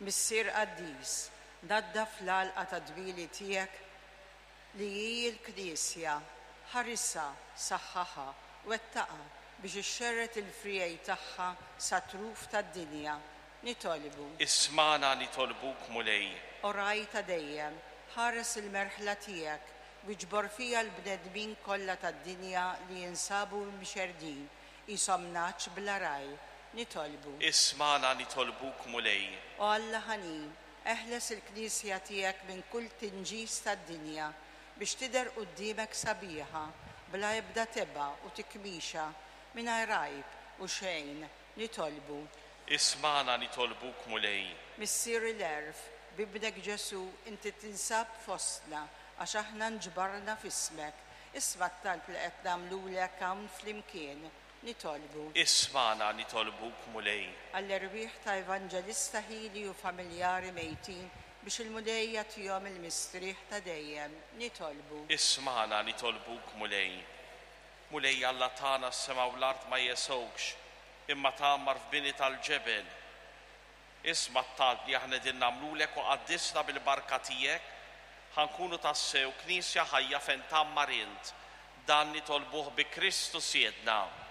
Missier qaddis, naddaf l-għalqa tad-dwieli tiegħek li hi l-Knisja, ħarisha, saħħaħha, wettaqha biex ixxerred il-friegħi tagħha sat-truf tad-dinja. Nitolbu. Ismagħna nitolbuk, Mulej. O Ragħaj ta' dejjem, ħares il-merħla tiegħek u iġbor fiha l-bnedmin kollha tad-dinja li jinsabu mxerrdin qishom nagħaġ bla ragħaj. Nitolbu. Ismagħna nitolbuk, Mulej. O Alla ħanin, eħles il-Knisja tiegħek minn kull tinġis tad-dinja, biex tidher quddiemek sabiħa, bla ebda tebgħa u tikmixa, mingħajr għajb u xejn. Nitolbu. Ismagħna nitolbuk, Mulej. Missier il-għerf, b'Ibnek Ġesù inti tinsab fostna għax aħna nġbarna f'ismek. Isma' t-talb li qed nagħmlulek hawn flimkien. Nitolbu. Ismagħna nitolbuk, Mulej. Għall-erwieħ ta' Evanġelista Hili u familjari mejtin biex il-Mulej jagħtihom il-mistrieħ ta' dejjem. Nitolbu. Ismagħna nitolbuk, Mulej. Mulej Alla tagħna s-sema u l-art ma jesgħukx, imma tgħammar f'bini tal-ġebel. Isma' t-talb li aħna qegħdin nagħmlulek u qaddisna bil-barka tiegħek, ħa nkunu tassew Knisja ħajja fejn tgħammar int. Dan nitolbuh bi Kristu Sidna.